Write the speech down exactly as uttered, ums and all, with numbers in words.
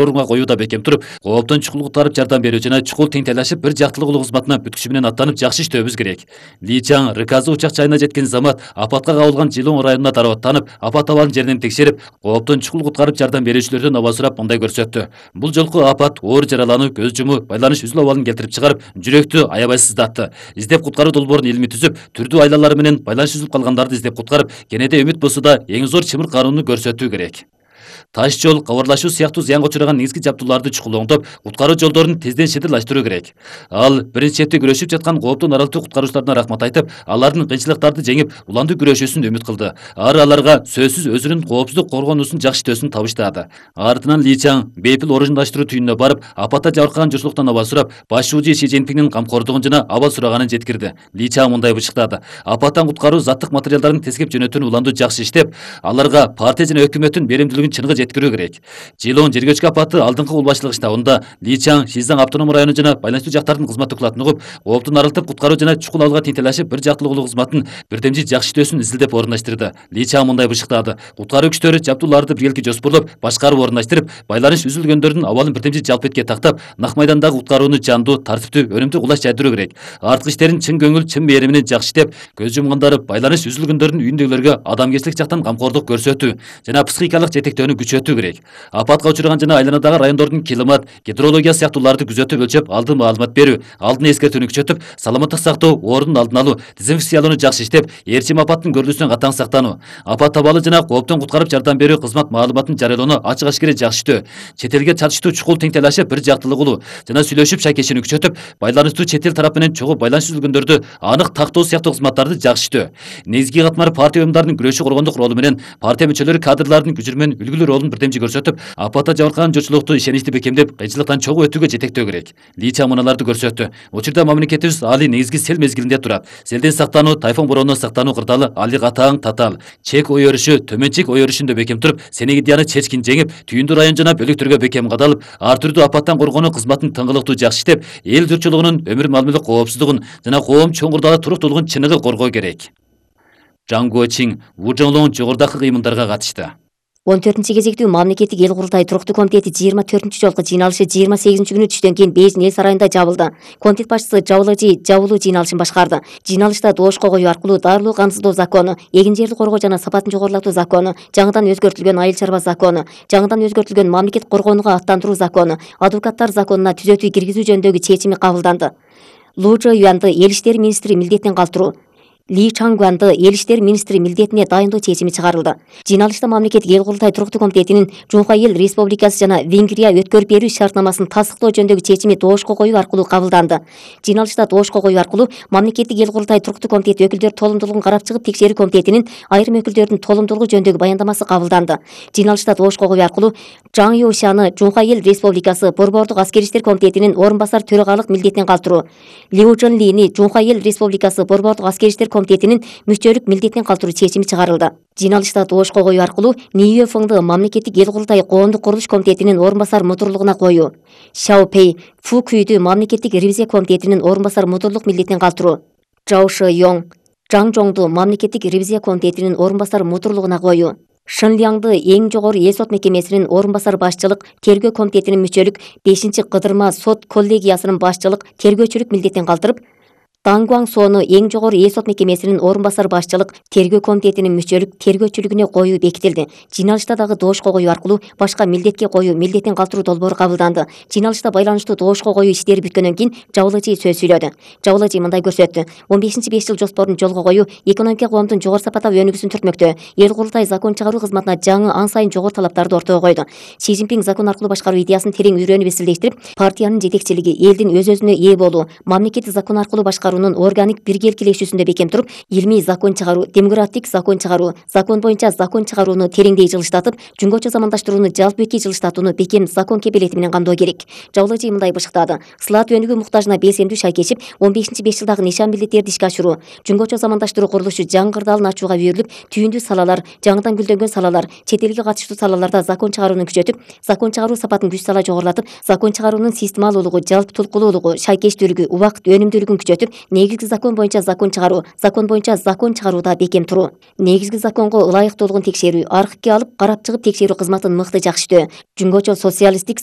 орунга коюуда бекем туруп, кооптон чукул куткарып жардам берүү жана чукул теңтелешип бир жактылык улуу кызматына бүткүчү менен аттанып жакшы иштөөбүз керек. Ли Чаң РКЗ учак жайына жеткен замат апатка кабылган Жылоң районуна дарбаттанып, апат абалын жеринен текшерип, кооптон чукул куткарып жардам берүүчүлөрдөн аба сурап мындай көрсөттү. Бул жолку апат оор жаралануу, көз жумуу, байланыш үзүлүү абалын келтирип чыгарып, жүрөктү аябай сыздатты. Издеп куткаруу долбоорун илмий түзүп, түрдүү айлалары менен байланыш үзүлүп калгандарды издеп куткарып, кенеде үмүт болсо да эң зор чымыр кароону көрсөтүү керек. Таш жол, кабарлашуу сыяктуу зыянга учураган негизги жабдууларды чукул оңдоп, куткаруу жолдорун тезден шедырлаштыруу керек. Ал биринчи четте күрөшүп жаткан кооптун аралыктуу куткаруучуларына рахмат айтып, алардын кыйынчылыктарды жеңип, уландуу күрөшүүсүн үмүт кылды. Ары аларга сөзсүз өзүнүн коопсуздук коргоонуусун жакшы иштөөсүн табыштады. Артынан Ли Чаң бейпил орундаштыруу түйүнүнө барып, апатта жабыркаган журтчулуктан аба сурап, баш шуужу Ши Цзиньпиңдин камкордугун жана абал сураганын жеткирди. Ли Чаң мындай бышыктады: апаттан куткаруу заттык материалдарын тескеп жөнөтүүнү уландуу жакшы иштеп, аларга партия жана өкмөттүн беримдүүлүгүн чыныгы жеткирүү керек. Жылоң жергечки апаты алдыңкы кул башчылык штабында Ли Чаң Шизаң автоном району жана байланыштуу жактардын кызмат докладын угуп, кооптун арылтып куткаруу жана чукул абалга теңтелешип бир жактылык улуу кызматтын бирдемчи жакшы иштөөсүн изилдеп орундаштырды. Ли Чаң мындай бышыктады: куткаруу күчтөрү жабдууларды биргелки жоспорлоп, башкарып орундаштырып, байланыш үзүлгөндөрдүн абалын бирдемчи жалп этке тактап, нак майдандагы куткарууну жандуу, тартиптүү, өнүмдүү кулаш жайдыруу керек. Арткы иштерин чын көңүл, чын мээрим менен жакшы иштеп, көз жумгандары байланыш үзүлгөндөрдүн үйүндөгүлөргө адамгерчилик жактан камкордук көрсөтүү жана психикалык жетектөөнү күчөтүү керек. Апатка учураган жана айланадагы райондордун климат, гидрология сыяктууларды күзөтүп өлчөп, алдын маалымат берүү, алдын эскертүүнү күчөтүп, саламаттык сактоо, оорунун алдын алуу, дезинфекциялоону жакшы иштеп, ээрчим апаттын көрүлүүсүнөн катаң сактануу, апат абалы жана кооптон куткарып жардам берүү кызмат маалыматын жарыялоону ачык ашкере жакшы иштөө, чет элге чатыштуу чукул теңтелешип бир жактылык улуу жана сүйлөшүп шайкешүүнү күчөтүп, байланыштуу чет эл тарап менен чогуу байланыш үзүлгөндөрдү анык тактоо сыяктуу кызматтарды жакшы иштөө, негизги катмар партия уюмдарынын күрөшүү коргондук ролу менен партия мүчөлөрү кадрлардын күжүрү менен үлгүлүү ролун бирдемчи көрсөтүп, апатта жабыркаган журтчулукту ишеничти бекемдеп, кыйынчылыктан чогуу өтүүгө жетектөө керек. Ли Чаң мыналарды көрсөттү: учурда мамлекетибиз али негизги сел мезгилинде турат. Селден сактануу, тайфун боронунан сактануу кырдаалы али катаң татаал. Чек ой өрүшү, төмөнчик ой өрүшүндө бекем туруп, Сенегидияны чечкин жеңип, түйүндүү район жана бөлүктөргө бекем кадалып, ар түрдүү апаттан коргонуу кызматын тыңгылыктуу жакшы иштеп, эл журтчулугунун өмүр мамиле коопсуздугун жана коом чоң курдалы туруктуулугун чыныгы коргоо керек. Жаң Гочиң Вужоңлоң жогорудагы кыймылдарга катышты. он төртүнчү кезектүү мамлекеттик эл курултай туруктуу комитети жыйырма төртүнчү жолку жыйналышы жыйырма сегизинчи күнү түштөн кийин Бейжин эл сарайында жабылды. Комитет башчысы Жабылыжи жабылуу жыйналышын башкарды. Жыйналышта доошко коюу аркылуу дарылуу камсыздоо закону, эгин жерди коргоо жана сапатын жогорулатуу закону, жаңыдан өзгөртүлгөн айыл чарба закону, жаңыдан өзгөртүлгөн мамлекет коргоонуга аттандыруу закону, адвокаттар законуна түзөтүү киргизүү жөнүндөгү чечими кабылданды. Лу Чжо Юанды эл иштери министри милдетинен калтыруу, Ли Чангуанды эл иштери министри милдетине дайындоо чечими чыгарылды. Жыйналышта мамлекеттик эл курултай туруктуу комитетинин Жунха эл Республикасы жана Венгрия өткөрүп берүү шартнамасын тастыктоо жөнүндөгү чечими доошко коюу аркылуу кабылданды. Жыйналышта доошко коюу аркылуу мамлекеттик эл курултай туруктуу комитети өкүлдөр толумдуулугун карап чыгып, текшерүү комитетинин айрым өкүлдөрдүн толумдуулугу жөнүндөгү баяндамасы кабылданды. Жыйналышта доошко коюу аркылуу Жаң Юшаны Жунха эл Республикасы Борбордук аскер иштер комитетинин орун басар төрагалык милдетинен калтыруу, Лиу Чжэнлини Жунха эл Республикасы Борбордук аскер иштер комитетинин мүчөлүк милдетинен калтыруу чечими чыгарылды. Жыйналышта доошко коюу аркылуу Ниюэ Фыңды мамлекеттик эл курултай коомдук курулуш комитетинин орун басар мудурлугуна коюу, Шао Пэй Фу Күйдү мамлекеттик ревизия комитетинин орун басар мудурлук милдетинен калтыруу, Чжао Ши Йоң Жаң Жоңду мамлекеттик ревизия комитетинин орун басар мудурлугуна коюу, Шын Лянды эң жогору эл сот мекемесинин орун басар башчылык тергөө комитетинин мүчөлүк бешинчи кыдырма сот коллегиясынын башчылык тергөөчүлүк милдетинен калтырып, Таң Гуаң Сону эң жогору эл сот мекемесинин орун басар башчылык тергөө комитетинин мүчөлүк тергөөчүлүгүнө коюу бекитилди. Жыйналышта дагы доошко коюу аркылуу башка милдетке коюу милдетин калтыруу долбоору кабылданды. Жыйналышта байланыштуу доошко коюу иштери бүткөндөн кийин Жабылыжи сөз сүйлөдү. Жабылыжи мындай көрсөттү: он бешинчи беш жыл жоспорун жолго коюу экономика коомдун жогору сапаттагы өнүгүүсүн түртмөктө. Эл курултай закон чыгаруу кызматына жаңы ан сайын жогору талаптарды ортого койду. Си Цзиньпин закон аркылуу башкаруу идеясын терең үйрөнүп эсилдештирип, партиянын жетекчилиги, элдин өз өзүнө ээ болуу, мамлекеттик закон аркылуу башкаруунун органик биргеликилешүүсүндө бекем туруп, илмий закон чыгаруу, демократик закон чыгаруу, закон боюнча закон чыгарууну тереңдей жылыштатып, жөнгөчө замандаштырууну жалпыөкий жылыштатууну бекем закон кепилети менен камдоо керек. Жабылыжи мындай бышыктады: сылаат өнүгүү муктажына белсендүү шайкешип, он бешинчи беш жылдагы нишан милдеттерди ишке ашыруу, жөнгөчө замандаштыруу курулушу жаңы кырдаалын ачууга үйрүлүп, түйүндүү салалар, жаңыдан гүлдөнгөн салалар, чет элге катыштуу салаларда закон чыгарууну күчөтүп, закон чыгаруу сапатын күч сала жогорулатып, закон чыгаруунун системалуулугу, жалпы толкулуулугу, шайкештүүлүгү, убакыт өнүмдүүлүгүн күчөтүп, негизги закон боюнча закон чыгаруу, закон боюнча закон чыгарууда бекем туруу, негизги законго ылайыктуулугун текшерүү, архивге алып карап чыгып текшерүү кызматын мыкты жакшыртуу, жумгочол социалисттик